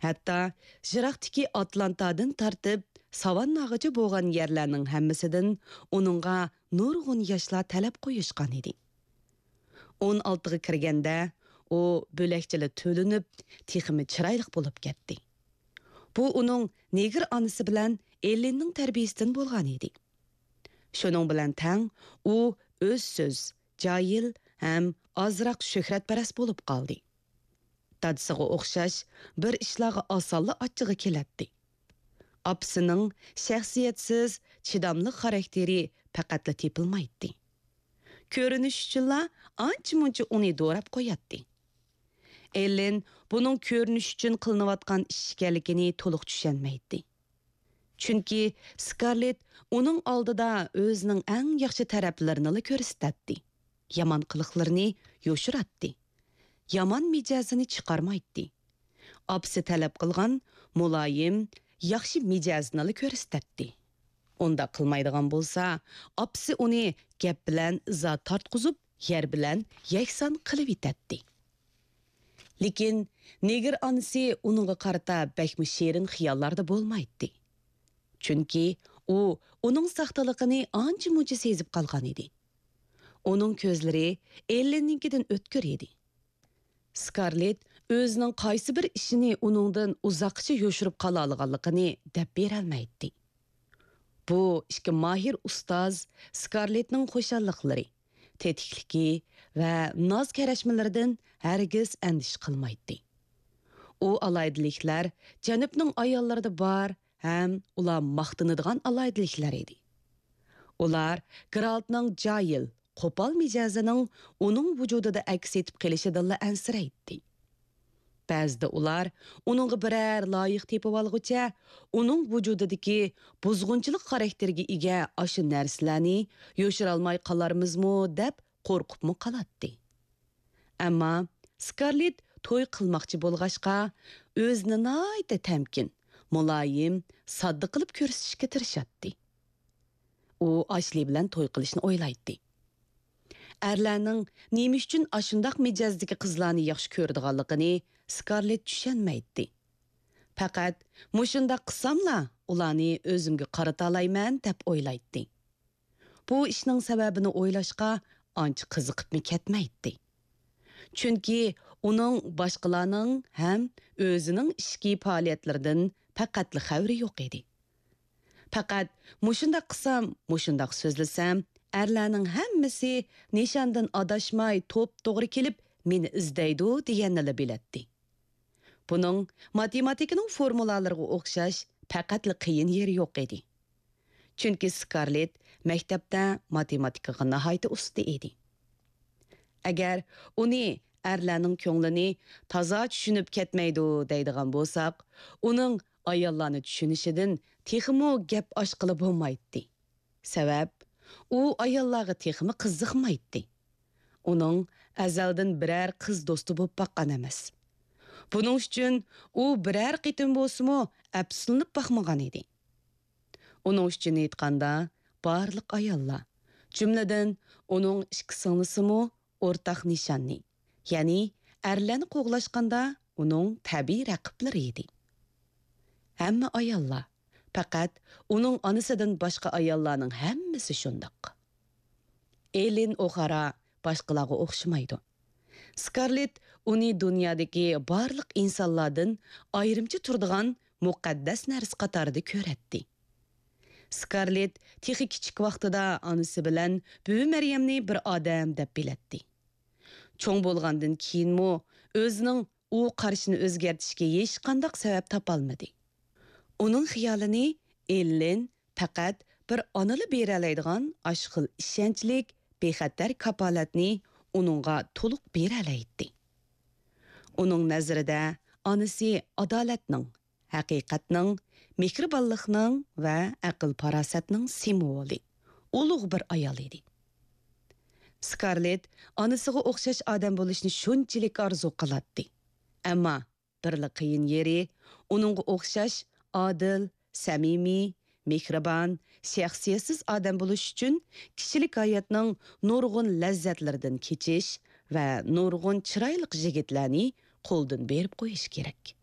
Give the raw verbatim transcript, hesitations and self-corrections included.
ھەتتا يىراقتىكى ئاتلانتادىن تارتىپ ساۋانناغىچە بولغان يەرلەرنىڭ ھەممىسىدىن ئۇنىڭغا نۇرغۇن ياشلار تەلەپ قويۇشقان ئىدى. ئون ئالتىغا كىرگەندە، ئۇ بۆلەكچىلەر تۆلىنىپ، تېخىمۇ چىرايلىق بولۇپ كەتتى. بۇ ئۇنىڭ نېگىر ئانىسى بىلەن ئېللىننىڭ تەربىيىسىدىن بولغان ئىدى. شۇنىڭ بىلەن تەڭ ئۇ ئۆز سۆز، جاھىل ھەم ئازراق شۆھرەتپەرەس بولۇپ قالدى. دادىسىغا ئوخشاش بىر ئىشلارغا ئاسانلا ئاچچىقى كېلەتتى. ئاپىسىنىڭ شەخسىيەتسىز، چىداملىق خاراكتېرى پەقەتلا تېپىلمايتتى. كۆرۈنۈش ئۈچۈنلا ئانچە-مۇنچە ئۇنى دوراپ قوياتتى. ئېللىن بۇنىڭ كۆرۈنۈش ئۈچۈن قىلىنىۋاتقان ئىش ئىكەنلىكىنى تولۇق چۈشەنمەيتتى. چۈنكى سكارلېت ئۇنىڭ ئالدىدا ئۆزىنىڭ ئەڭ ياخشى تەرەپلىرىنىلا كۆرسىتەتتى. يامان قىلىقلىرىنى يوشۇراتتى. يامان مىجەزىنى چىقارمايتتى. ئاپىسى تەلەپ قىلغان مۇلايىم، ياخشى مىجەزىنىلا كۆرسىتەتتى. ئۇنداق قىلمايدىغان بولسا، ئاپىسى ئۇنى گەپ بىلەن ئىزا تارتقۇزۇپ، يەر بىلەن يەكسان قىلىۋېتەتتى. لېكىن نېگىر ئانىسى ئۇنىڭغا قارىتا بەكمۇ شېرىن خىياللاردا بولمايتتى. چۈنكى ئۇ ئۇنىڭ ساختىلىقىنى ئانچە-مۇنچە سېزىپ قالغان ئىدى. ئۇنىڭ كۆزلىرى ئېللىننىڭكىدىن ئۆتكۈر ئىدى. سكارلېت ئۆزىنىڭ قايسى بىر ئىشىنى ئۇنىڭدىن ئۇزاققىچە يوشۇرۇپ قالالىغانلىقىنى دەپ بېرەلمەيتتى. بۇ ئىككى ماھىر ئۇستاز سكارلېتنىڭ خۇشاللىقلىرى، تېتىكلىكى ۋە ناز-كەرەشمىلىرىدىن ھەرگىز ئەندىشە قىلمايتتى. ئۇ ئالاھىدىلىكلەر جەنۇبنىڭ ئاياللىرىدا بار ھەم ئۇلار ماختىنىدىغان ئالاھىدىلىكلەر ئىدى. ئۇلار گېرالتنىڭ جاھىل، قوپال مىجەزىنىڭ ئۇنىڭ ۋۇجۇدىدا ئەكس ئېتىپ قېلىشىدىنلا ئەنسىرەيتتى. بەزىدە ئۇلار ئۇنىڭغا بىرەر لايىق تېپىۋالغۇچە، ئۇنىڭ ۋۇجۇدىدىكى بۇزغۇنچىلىق خاراكتېرىگە ئىگە ئاشۇ نەرسىلەرنى يوشۇرالماي قالارمىزمۇ دەپ قورقۇپمۇ قالاتتى. ئەمما سكارلېت توي قىلماقچى بولغاچقا، ئۆزىنى ناھايىتى تەمكىن، مۇلايىم، ساددا قىلىپ كۆرسىتىشكە تىرىشاتتى. ئۇ ئاشلى بىلەن توي قىلىشنى ئويلايتتى. ئەرلەرنىڭ نېمە ئۈچۈن ئاشۇنداق مىجەزدىكى قىزلارنى ياخشى كۆرىدىغانلىقىنى سكارلېت چۈشەنمەيتتى. پەقەت مۇشۇنداق قىلساملا ئۇلارنى ئۆزۈمگە قارىتالايمەن دەپ ئويلايتتى. بۇ ئىشنىڭ سەۋەبىنى ئويلاشقا ئانچە قىزىقىپمۇ كەتمەيتتى. چۈنكى ئۇنىڭ باشقىلارنىڭ ھەم ئۆزىنىڭ ئىچكى پائالىيەتلىرىدىن پەقەتلا خەۋىرى يوق ئىدى. پەقەت مۇشۇنداق قىلسام، مۇشۇنداق سۆزلىسەم، ئەرلەرنىڭ ھەممىسى نىشاندىن ئاداشماي توپتوغرا كېلىپ مېنى ئىزدەيدۇ دېگەننىلا بىلەتتى. بۇنىڭ ماتېماتىكىنىڭ فورمۇلالىرىغا ئوخشاش پەقەتلا قىيىن يېرى يوق ئىدى. چۈنكى سكارلېت مەكتەپتە ماتېماتىكىغا ناھايىتى ئۇستا ئىدى. ئەگەر ئۇنى ئەرلەرنىڭ كۆڭلىنى تازا چۈشىنىپ كەتمەيدۇ دەيدىغان بولساق، ئۇنىڭ ئاياللارنى چۈشىنىشىدىن تېخىمۇ گەپ ئاچقىلى بولمايتتى. سەۋەب، ئۇ ئاياللارغا تېخىمۇ قىزىقمايتتى. ئۇنىڭ ئەزەلدىن بىرەر قىز دوستى بولۇپ باققان ئەمەس. بۇنىڭ ئۈچۈن ئۇ بىرەر قېتىم بولسىمۇ ئەپسۇسلىنىپ باقمىغان ئىدى. ئۇنىڭ ئۈچۈن ئېيتقاندا، بارلىق ئاياللار، جۈملىدىن ئۇنىڭ ئىككى سىڭلىسىمۇ ئورتاق نىشاننى، يەنى ئەرلەرنى قوغلاشقاندا ئۇنىڭ تەبىئىي رەقىبلىرى ئىدى. ھەممە ئاياللار، پەقەت ئۇنىڭ ئانىسىدىن باشقا ئاياللارنىڭ ھەممىسى شۇنداق. ئېلېن ئوخارا باشقىلارغا ئوخشىمايدۇ. سكارلېت ئۇنى دۇنيادىكى بارلىق ئىنسانلاردىن ئايرىمچە تۇرىدىغان مۇقەددەس نەرسە قاتارىدا كۆرەتتى. سكارلېت تېخى كىچىك ۋاقتىدا ئانىسى بىلەن بۈۋى مەريەمنى بىر ئادەم دەپ بىلەتتى. چوڭ بولغاندىن كېيىنمۇ ئۆزىنىڭ ئۇ قارىشىنى ئۆزگەرتىشكە ھېچقانداق سەۋەب تاپالمىدى. ئۇنىڭ خىيالىنى ئېللېن پەقەت بىر ئانىلا بېرەلەيدىغان ئاشۇ خىل ئىشەنچلىك، بىخەتەر كاپالەتنى ئۇنىڭغا تولۇق بېرەلەيتتى. ئۇنىڭ نەزىرىدە ئانىسى ئادالەتنىڭ، ھەقىقەتنىڭ، مېھرىبانلىقنىڭ ۋە ئەقىل-پاراسەتنىڭ سىمۋولى، ئۇلۇغ بىر ئايال ئىدى. سكارلېت ئانىسىغا ئوخشاش ئادەم بولۇشنى شۇنچىلىك ئارزۇ قىلاتتى. ئەمما بىرلا قىيىن يېرى، ئۇنىڭغا ئوخشاش ئادىل، سەمىمىي، مېھرىبان، شەخسىيەتسىز ئادەم بولۇش ئۈچۈن كىشىلىك ھاياتنىڭ نۇرغۇن لەززەتلىرىدىن كېچىش ۋە نۇرغۇن چىرايلىق يىگىتلەرنى قولدىن بېرىپ قويۇش كېرەك.